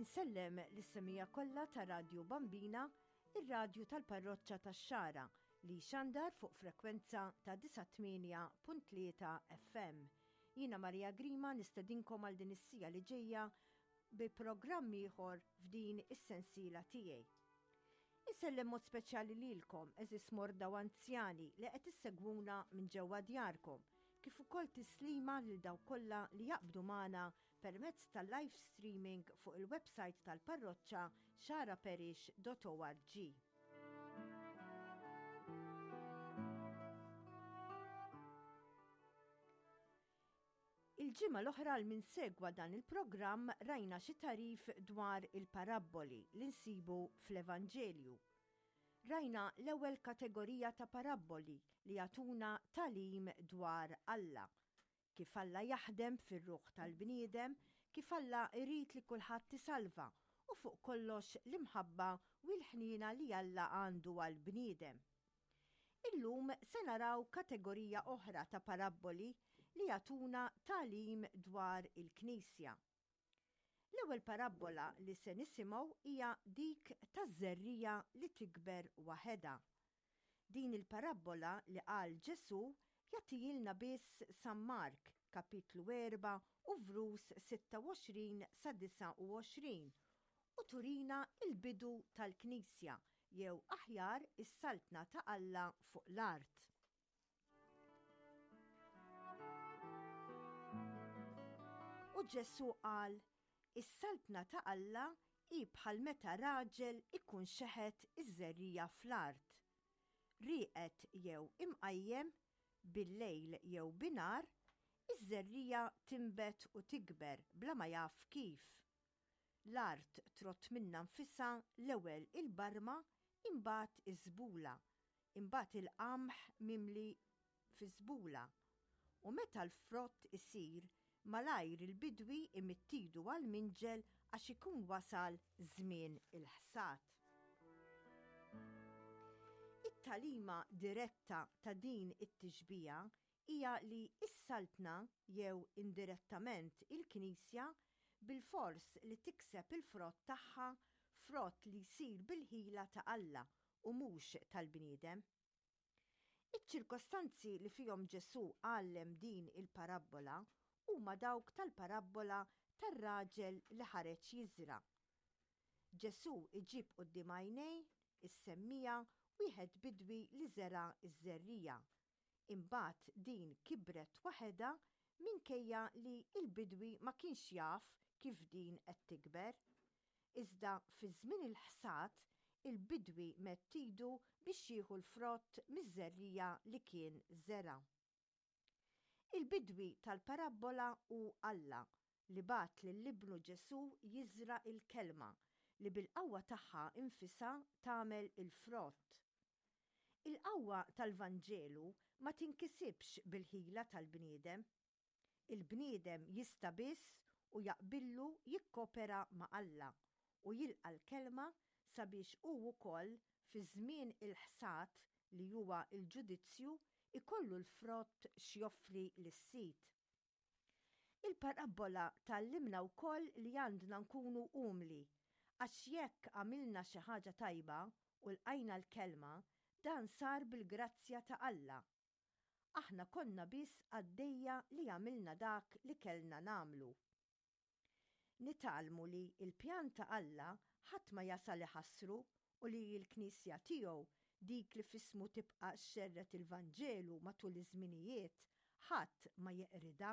Insellem lis-semija kollha ta' Radju Bambina, ir-radju tal-parroċċa tax-Xagħra li jxandar fuq frekwenza ta' 98.3 FM. Jiena Maria Grima nistedinkom għal din is-sija li ġejja bi programm ieħor f'din is-sensiela tiegħi. Insellem mod speċjali lilkom, eżis morda u anzjani li qed issegwuna minn ġewwa djarkom, kif ukoll tislima lil dawk kollha li jaqbdu magħna permezz tal-live streaming fuq il-website tal-parroċċa xaraparish.org. Il-ġimgħa l-oħra għal min segwa dan il-programm rajna xi tagħrif dwar il-parabboli li nsibu fl-Evanġelju. Rajna l-ewwel kategorija ta' parabboli li jagħtuna tagħlim dwar Alla. Kif Alla jaħdem fir-ruħ tal-bniedem, kif Alla jrid li kulħadd isalva u fuq kollox l-imħabba u l-ħniena li Alla għandu għall-bniedem. Illum se naraw kategorija oħra ta' parabboli li jagħtuna tagħlim dwar il-Knisja. L-ewwel parabbola li se nisimgħu hija dik taż-żerriegħa li tikber waħedha. Din il-parabbola li qal Ġesù jagħtihilna biss San Mark, kapitlu 4 u vrus 26 sa 29, u turina l-bidu tal-Knisja jew aħjar is-Saltna ta' Alla fuq l-art. U Ġesù qal, Is-Saltna ta' Alla hi bħal meta raġel ikun xeħet iż-żerriegħa fl-art. Rieqed jew imqajjem, billejl jew binhar, iż-żerriegħa tinbet u tikber bla ma jaf kif. L-art trott minnha nfisha l-ewwel il-barma imbagħad iż-żbula, imbagħad il-qamħ mimli fiż-żbula. U meta l-frott isir, malajr il-bidwi imidd idu għall-minġel għax ikun wasal żmien il-ħsad. It-tagħlima diretta ta' din it-tixbiha hija li s-Saltna, jew indirettament il-Knisja, bilfors li tikseb il-frott tagħha, frott li jsir bil-ħila ta' Alla u mhux tal-bniedem. Iċ-ċirkostanzi li fihom Ġesù għallem din il-parabbola huma dawk tal-parabbola tar-raġel li ħareġ jiżra'. Ġesù jġib quddiem għajnejn is-semmiegħa wieħed bidwi li żera' ż-żerriegħa Imbagħad din kibret waħedha minkejja li l-bidwi ma kienx jaf kif din qed tikber. Iżda fi żmien il-ħsad, il-bidwi medd idu biex jieħu l-frott miż-żerriegħa li kien żera'. Il-bidwi tal-parabbola hu Alla li bagħat lil Ibnu Ġesù jiżra' l-Kelma li bil-qawwa tagħha nfisha tagħmel il-frott. Il-qawwa tal-Vanġelu ma tinkisibx bil-ħila tal-bniedem. Il-bniedem jista' biss u jaqbillu jikkopera ma' Alla u jilqa' l-Kelma sabiex hu wkoll fi żmien il-ħsad li huwa l-ġudizzju jkollu l-frott x'joffri lis-Sid. Il-parabbola tgħallimna wkoll li għandna nkunu umli, għax jekk għamilna xi ħaġa tajba u lqajna l-kelma, dan sar bil-grazzja ta' Alla. Aħna konna biss qaddejja li għamilna dak li kellna nagħmlu. Nitgħallmu li l-pjan ta' Alla ħadd ma jasal iħassru u li l-Knisja tiegħu, dik li f'ismu tibqa' xxerred il-Vanġelu matul iż-żminijiet, ħadd ma jeqridha.